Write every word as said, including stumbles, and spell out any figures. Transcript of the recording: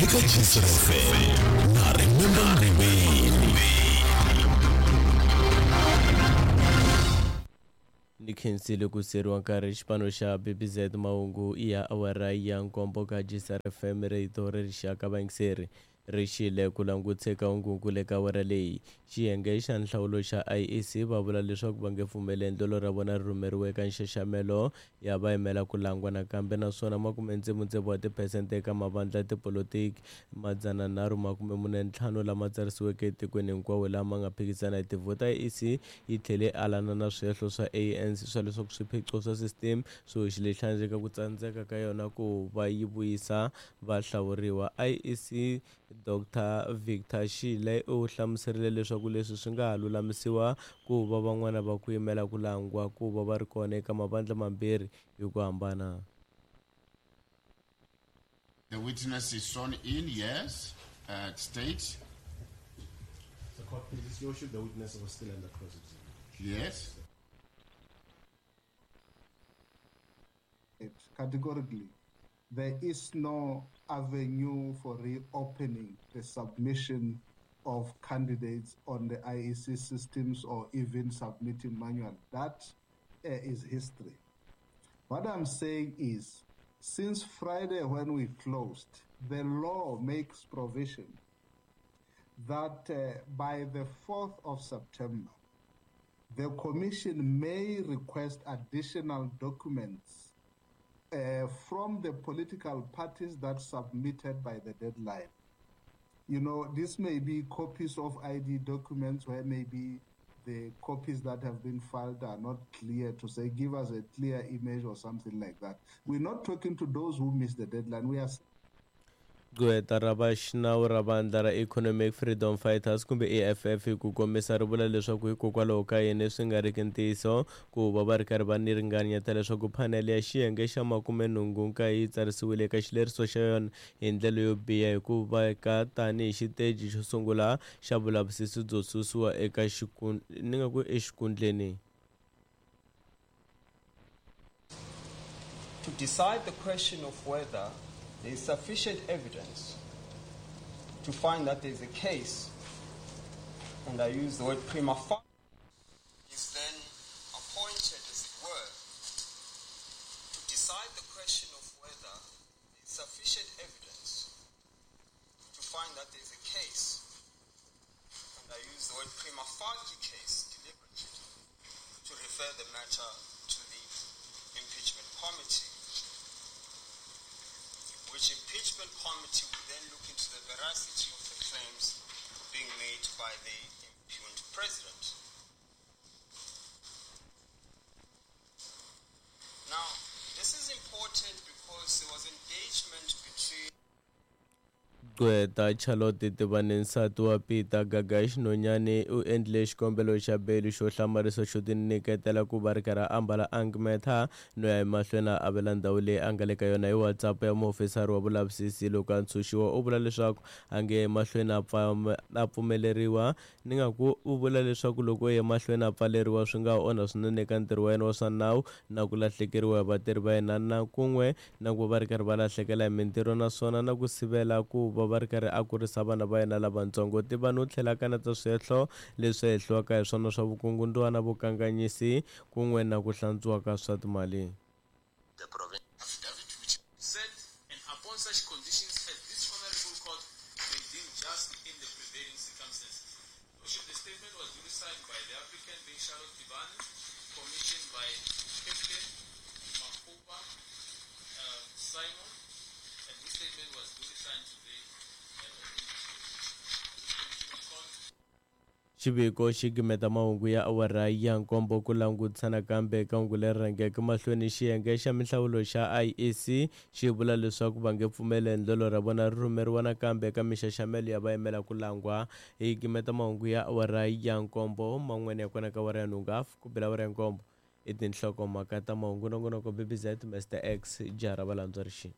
Eka G S F M na Remember Ngoveni. Ni khensile ku seriwa nkarhi xipano xa B B Z. Mahungu ya awara ya nkombo ka G S R F M, rito ra rixaka. Vayingiseri ri xile ku languteka hunguku le ka awara leyi. Xiyenge xa nhlawulo xa I E C va vula leswaku va nge pfumeli endlelo ra vona ri rhumeriwa eka nxaxamelo ya vayimela ku langwa nakambe, naswona makume tsevu wa tiphesente eka mavandla ya tipolotiki madzana nharhu makume mune ntlhanu lama tsarisiweke etikweni hinkwawo lama nga phikizana hi tivhoti. I E C yi tlhele alana na swihehlo swa A N C swa leswaku swiphiqo swa system swi hoxile xandla eka ku tsandzeka ka yona ku va yi vuyisa vahlawuriwa. I E C Doctor Victor Shile u hlamuserile leswaku leswi swi nga ha lulamisiwa ku va van'wana va ku yimela ku langwa ku va va ri kona eka mavandla mambirhi hi ku hambana. The witness is sworn in, yes. Uh, state, The court pleases, Your Worship, the witness was still under cross-examination. Yes. It categorically, there is no avenue for reopening the submission of candidates on the I E C systems or even submitting manual. That uh, is history. What I'm saying is, since Friday when we closed, the law makes provision that uh, by the fourth of September, the Commission may request additional documents uh, from the political parties that submitted by the deadline. You know, this may be copies of I D documents where maybe the copies that have been filed are not clear, to say, give us a clear image or something like that. We're not talking to those who missed the deadline. We are Gqweta ra vaxinawu ra vandla ra Economic Freedom Fighters kumbe E F F hi ku komisa ri vula leswaku hikokwalaho ka yini swi nga riki ntiyiso ku va va ri karhi va ni ringanyeta leswaku phanele ya xiyenge xa makumenhungu nkaye yi tsarisiwile eka xileriso xa yona hi ndlela yo biha hi ku veka tanihi xiteji xo sungula xa vulavisisi byo susiwa eka ni nga ku exikundleni. To decide the question of whether there is sufficient evidence to find that there is a case, and I use the word prima facie, is then appointed, as it were, to decide the question of whether there is sufficient evidence to find that there is a case, and I use the word prima facie case deliberately, to refer the matter to the impeachment committee, which impeachment committee will then look into the veracity of the claims being made by the impugned president. Now, this is important because there was engagement between Gqweta Charlotte Tibane, nsati wa Peter Gagash Nonyane, u endle xikombelo xa beli xo hlamarisa xo tinyiketela ku va ri karhi a ambala ankmetha no ya emahlweni a avela ndhawu leyi a nga le ka yona hi WhatsApp ya muofisari wa vulavisisi. Loko a ntshunxiwa u vula leswaku a nge emahlweni a a pfumeleriwa ni nga ku u vula leswaku loko u ya emahlweni a pfaleriwa swi nga onha swinene eka ntirho wa yena wa swa nawu na ku lahlekeriwa hi vatirhi va yena na kun'we na ku va ri karhi va lahlekela hi mintirho, naswona na ku sivela ku va va ri karhi a kurisa vana va yena lavatsongo. Tivani u tlhela a kaneta swihehlo leswi hehliwaka hi swona swa vukungundzwana, vukanganyisi kun'we na ku hlantswiwa ka swa timali. Affidavit which said, and upon such conditions as this honorable court may deem just in the prevailing circumstances. Worship, the statement was duly signed by the applicant, being Charlotte Tibane, commissioned by Captain Mahuba um, Simon, and this statement was duly signed today uh, in this case. This commission of court. Xiviko xi gimeta mahungu ya awara ya nkombo. Ku langutisa nakambe eka hungu leri rhangeke mahlweni, xiyenge xa minhlawulo xa I E C xi vula leswaku va nge pfumeli endlelo ra vona ri rhumeriwa nakambe eka mixaxamelo ya vayimela ku langwa. Hi gimeta mahungu ya awara ya nkombo, man'wana ya kona ka awara ya nhungu hafu ku bela awara ya nkombo i tinhlokomhaka ta mahungu. Nongonoko B B Z, Mister X, jaha ra valandzwa rixini.